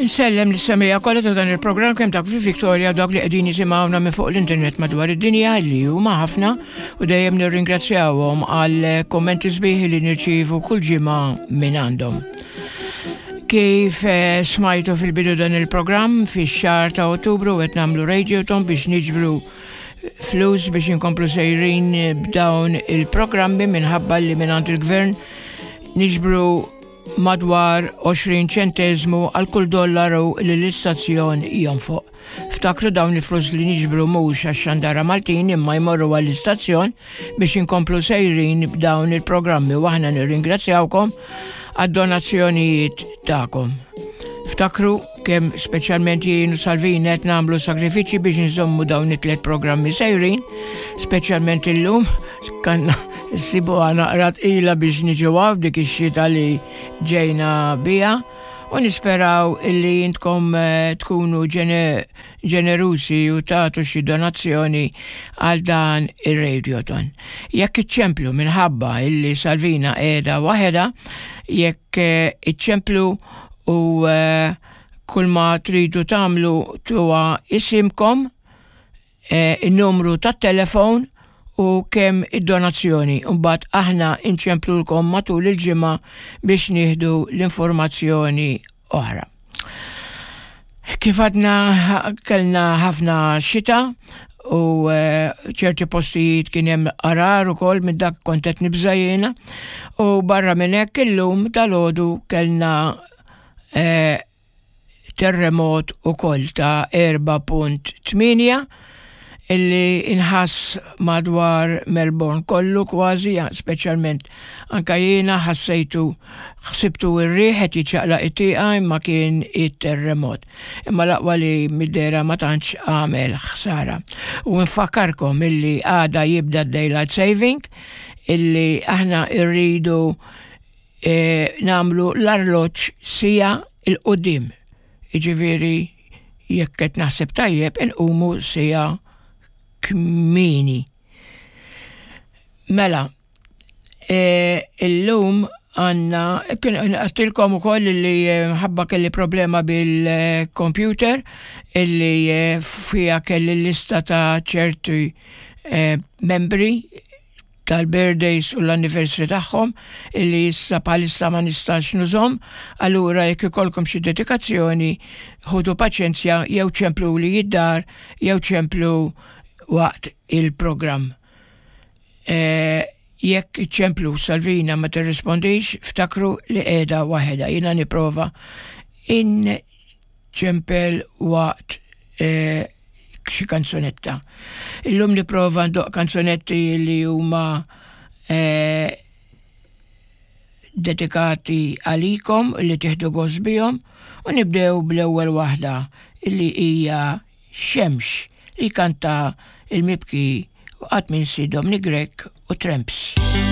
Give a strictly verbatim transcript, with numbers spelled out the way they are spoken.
Insellem lis-semmiegħa kollha ta' dan il-programm, kemm dak fi Victoria, dak li qegħdin jisimgħuna minn fuq l-internet madwar id-dinja, li huma ħafna, u dejjem nirringrazzjawhom għal kommenti sbieħ li nirċievu kull ġimgħa minn għandhom. Kif eh, smajtu fil-bidu dan il-programm, fix-xahar ta' Ottubru qed nagħmlu Radiothon biex niġbru flus biex inkomplu sejrin b'dawn il-programmi, minħabba li minn il-gvern niġbru madwar għoxrin ċentesmu għal kull dollaru li l-istazzjon jonfoq. Ftakru, dawn il-flus li niġbru mhux għax-xandara Maltin, imma jmorru għall-istazzjon biex inkomplu sejrin b'dawn il-programmi, u aħna nirringrazzjawkom għad-donazzjonijiet tagħkom. Ftakru kemm speċjalment jien u Salvina qed nagħmlu sagrifiċi biex nżommu dawn it-tliet programmi sejrin, speċjalment illum kanna sibu naqra tqila biex niġu dik ix-xita li ġejna biha, u nisperaw illi intkom eh, tkunu ġenerusi u tagħtu xi donazzjoni għal dan ir-Radiothon. Jekk iċċemplu, minħabba illi Salvina qiegħda waħedha, jekk eh, iċċemplu u eh, kull ma tridu tagħmlu tuha isimkom, il-numru tat-telefon u kemm id-donazzjoni. Mbagħad aħna inċemplulkom matul il-ġimgħa biex nieħdu l-informazzjoni oħra. Kif għadna, kellna ħafna xita u eh, ċerti postijiet kien hemm għargħar ukoll, minn dak kont qed nibża' jiena, u barra minn hekk illum dalgħodu kellna eh, terremot ukoll ta' erbgħa punt tmienja illi inħass madwar Melbourne kollu kważi, speċjalment anka jiena ħassejtu, ħsibtu ir-riħ qed jiċċaqlaq it-tieqa, imma kien it-terremot. Imma l-aqwa li mid-dehra ma tantx għamel ħsara. U nfakkarkom illi għada jibda daylight saving, illi aħna irridu e, nagħmlu l-arloġġ siegħa 'l quddiem. Iġifieri, jekk qed naħseb tajjeb, inqumu siegħa kmieni. Mela, e, illum għandna, għedtilkom ukoll li e, ħabba kelli problema bil-computer illi e, fija kelli lista ta' ċerti membri tal-birthdays u l-anniversary tagħhom, illi issa bħalissa ma nistax nużahom, allura jekk ikollkom xi dedikazzjoni, ħudu paċenzja, jew ċemplu li id-dar jew ċemplu waqt il-programm. E, jekk ċemplu Salvina ma tirrispondix, ftakru li qiegħda waħedha. Jiena nipprova inċempel waqt e, xi kanzunetta. Illum nipprova ndoqq kanzunetti li huma e, dedikati għalikom li tieħdu gost bihom, u nibdew bl-ewwel waħda, illi hija "Xemx", li kanta il-mibki u qatt minsi Dominic Grech u Tramps.